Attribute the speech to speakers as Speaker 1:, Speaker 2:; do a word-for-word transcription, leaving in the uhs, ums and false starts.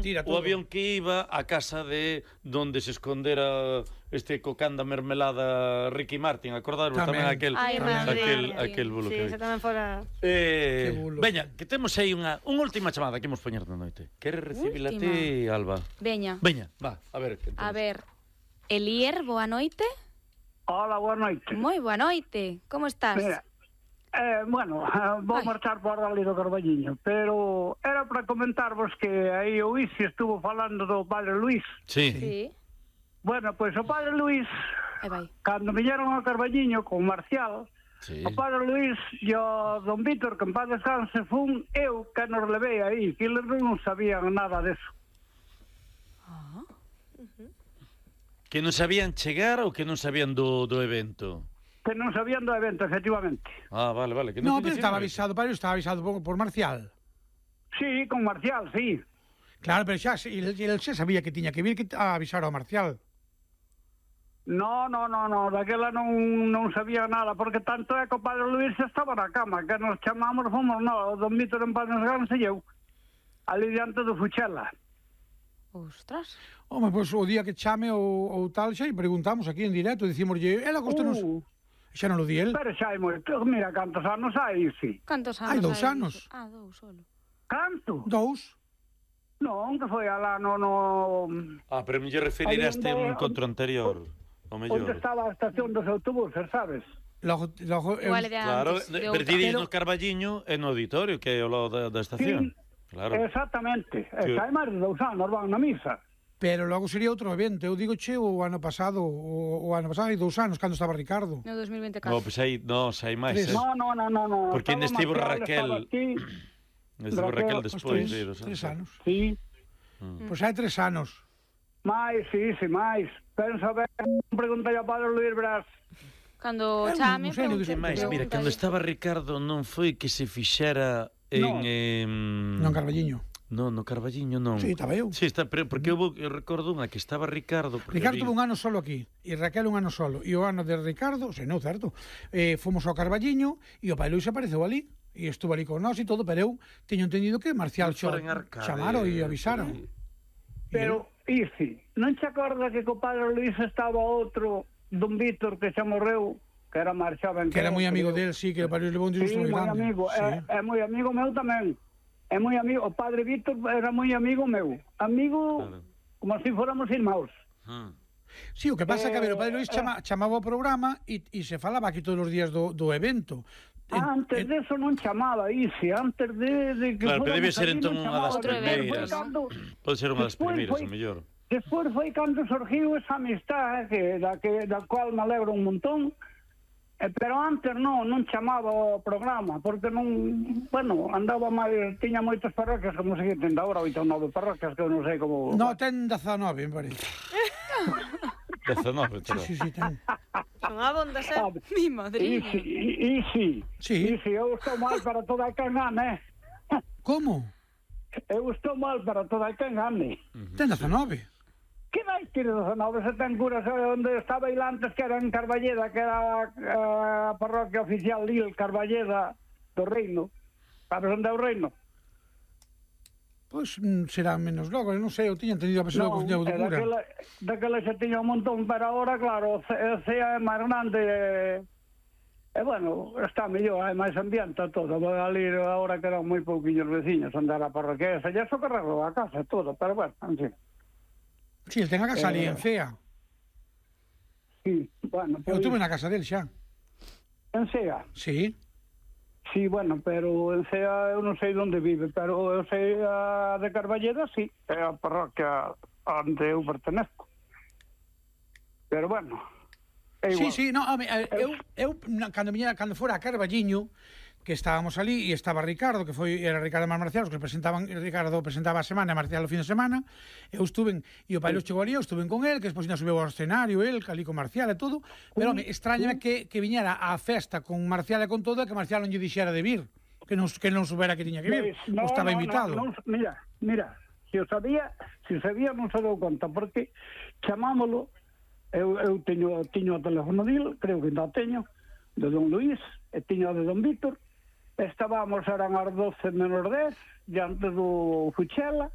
Speaker 1: o avión que iba a casa de donde se escondera este cocán da mermelada Ricky Martin, acordaros tamén aquel
Speaker 2: Ay,
Speaker 1: aquel aquel bulo
Speaker 2: sí,
Speaker 1: que
Speaker 2: ese tamén fora...
Speaker 1: Eh, veña, que temos aí unha unha última chamada que imos poñer na noite. Queres recibila ti, Alba?
Speaker 3: Veña.
Speaker 1: Veña, va, a ver.
Speaker 3: A ver, Elier, boa noite.
Speaker 4: Hola, boa noite.
Speaker 3: Moi boa noite. Como estás?
Speaker 4: Mira, eh, bueno, vou Ay. marchar por ali do Carballiño, pero era para comentarvos que aí o Isi estuvo falando do padre Luís.
Speaker 1: Sí.
Speaker 3: Sí.
Speaker 4: Bueno, pois o padre Luís, cando viñeron ao Carballiño con Marcial, sí. o padre Luís e o don Vítor, que en paz descanse, fun eu que nos levei aí, que eles non sabían nada deso.
Speaker 3: Ah.
Speaker 2: Uh-huh.
Speaker 1: Que non sabían chegar ou que non sabían do, do evento?
Speaker 4: Que non sabían do evento, efectivamente.
Speaker 1: Ah, vale, vale. Que
Speaker 5: non no, pero estaba avisado, para estaba avisado por, por Marcial.
Speaker 4: Sí, con Marcial, sí.
Speaker 5: Claro, pero xa, el, el xa sabía que tiña que vir que a avisar ao Marcial.
Speaker 4: No, no, no, no, daquela non, non sabía nada, porque tanto é que o padre Luís estaba na cama, que nos chamamos, fomos, no, o don Vítor en paz descanse e eu, ali diante do Fuchela.
Speaker 3: Ostras.
Speaker 5: Home, pois o día que chame ou, ou tal, xa e preguntamos aquí en directo, dicimoslle, ela costanos... Uh, xa non lo di el.
Speaker 4: Pero xa hai moito, mira, cantos anos hai, sí.
Speaker 3: Cantos anos
Speaker 5: hai? Dous anos.
Speaker 3: Ah, dous solo.
Speaker 4: Canto?
Speaker 5: Dous.
Speaker 4: Non, que foi alá no... no...
Speaker 1: Ah, pero me lle referiraste a un encontro anterior.
Speaker 4: Onde estaba a estación dos autobuses, sabes?
Speaker 5: Logo, logo, eu...
Speaker 1: Claro, pero ti dices no Carballiño e no auditorio, que é o lado da, da estación.
Speaker 4: Sí.
Speaker 1: Claro.
Speaker 4: Exactamente, sí. Está máis de dous anos, van na misa.
Speaker 5: Pero logo sería outro evento, eu digo che o ano pasado, o, o ano pasado hai dous anos, cando estaba Ricardo.
Speaker 3: No dos mil veinticuatro.
Speaker 1: No, pois pues aí, no, hai máis. Eh.
Speaker 4: No, no, no, no, no.
Speaker 1: Porque ainda estivo Raquel. Estivo Raquel despois de
Speaker 5: dos tres anos.
Speaker 4: Sí.
Speaker 5: Mm. Pois pues hai tres anos.
Speaker 4: Mais, sí, sí, máis. Pensa ben, preguntei ao padre Luís Brás.
Speaker 3: Cando chame,
Speaker 1: pregunte máis. Mira, cando estaba Ricardo non foi que se fixera en...
Speaker 4: No,
Speaker 1: eh,
Speaker 5: non Carballiño.
Speaker 1: Non, no Carballiño non.
Speaker 5: Sí, estaba eu.
Speaker 1: Sí, está, pero porque eu, eu recordo unha que estaba Ricardo.
Speaker 5: Ricardo tuvo un ano solo aquí, e Raquel un ano solo. E o ano de Ricardo, se non, certo, eh, fomos ao Carballiño, e o pai Luís apareceu ali, e estuvo ali con nós e todo, pero eu teño entendido que Marcial xo, chamaron e avisaron.
Speaker 1: Sí.
Speaker 4: Pero, Isi, non te acordas que co padre Luís estaba outro, don Vítor, que xa morreu, que era máis xoven
Speaker 5: que era moi amigo del, sí, que o padre levou un disgusto moi grande.
Speaker 4: Amigo,
Speaker 5: sí,
Speaker 4: é, é moi amigo meu tamén. É moi amigo, o padre Vítor era moi amigo meu. Amigo, claro, como se si fóramos irmãos.
Speaker 1: Ah.
Speaker 5: Sí, o que pasa é eh, que, a ver, o padre Luís chama, chamaba o programa e, e se falaba aquí todos os días do, do evento.
Speaker 4: En, antes en... de eso non chamaba, Isi, antes de, de que...
Speaker 1: Claro, pero debe ser entón unha das
Speaker 3: primeiras.
Speaker 1: Pode ser unha das primeiras, o mellor.
Speaker 4: Despois foi cando surgiu esa amistad, que, da, que, da cual me alegro un montón. Eh, pero antes non, non chamaba o programa, porque non, bueno, andaba máis, tiña moitas parroquias, como se ten agora, oito ou nove parroquias, que eu non sei como...
Speaker 5: No, ten dezanove, me parece.
Speaker 1: dezanove,
Speaker 5: sí, sí, sí, ten.
Speaker 2: Son abondas, eh?
Speaker 4: Ah,
Speaker 3: mi madrina.
Speaker 4: E si, sí,
Speaker 5: sí.
Speaker 4: Si, eu estou mal para toda a quen gane.
Speaker 5: Como?
Speaker 4: Eu estou mal para toda a quen gane.
Speaker 5: Uh-huh. Ten dezanove.
Speaker 4: Que vai ter dezanove se ten curas onde estaba il antes, que era en Carballeda, que era a parroquia oficial Lil Carballeda do Reino. Sabes onde é o Reino?
Speaker 5: Pois pues, será menos logo, non sei, eu tiña entendido a pessoa que tiña do cura.
Speaker 4: Daquela, daquela xa tiña un montón, pero agora, claro, o C E é máis grande e, e bueno, está mellor, hai máis ambiente todo. Ali agora quedan moi pouquinhos veciños onde era a parroquia esa, xa socorrerlo a casa todo, pero bueno, en fin.
Speaker 5: Sí, el ten a casa ali, eh, en Cea.
Speaker 4: Sí, bueno...
Speaker 5: Eu pues, tuve na casa del xa.
Speaker 4: En Cea?
Speaker 5: Sí.
Speaker 4: Sí, bueno, pero en Cea eu non sei onde vive, pero eu sei a de Carballeda, sí, é a parroquia onde eu pertenezco. Pero bueno...
Speaker 5: Sí, sí, no, home, eu, eu, cando, viñera, cando fora a Carballiño, que estábamos ali e estaba Ricardo, que foi era Ricardo e Marcial, os que presentaban, Ricardo presentaba a semana e Marcial o fin de semana, eu estuve, e o pai Luís chegou ali, eu estuve con el, que despois ainda subeu ao escenario, el, ali con Marcial e todo, pero, home, extrañame que, que viñera á festa con Marcial e con todo, e que Marcial non lle dixera de vir, que non, que non subera que tiña que vir,
Speaker 4: no,
Speaker 5: ou estaba
Speaker 4: no,
Speaker 5: invitado.
Speaker 4: No, no, mira, mira, se o sabía, se o sabía non se dou conta, porque chamámolo, eu, eu teño, teño o teléfono dil, creo que ainda o teño, de don Luís, e teño o de don Vítor. Estábamos, eran as doce menos dez, diante do Fuchela,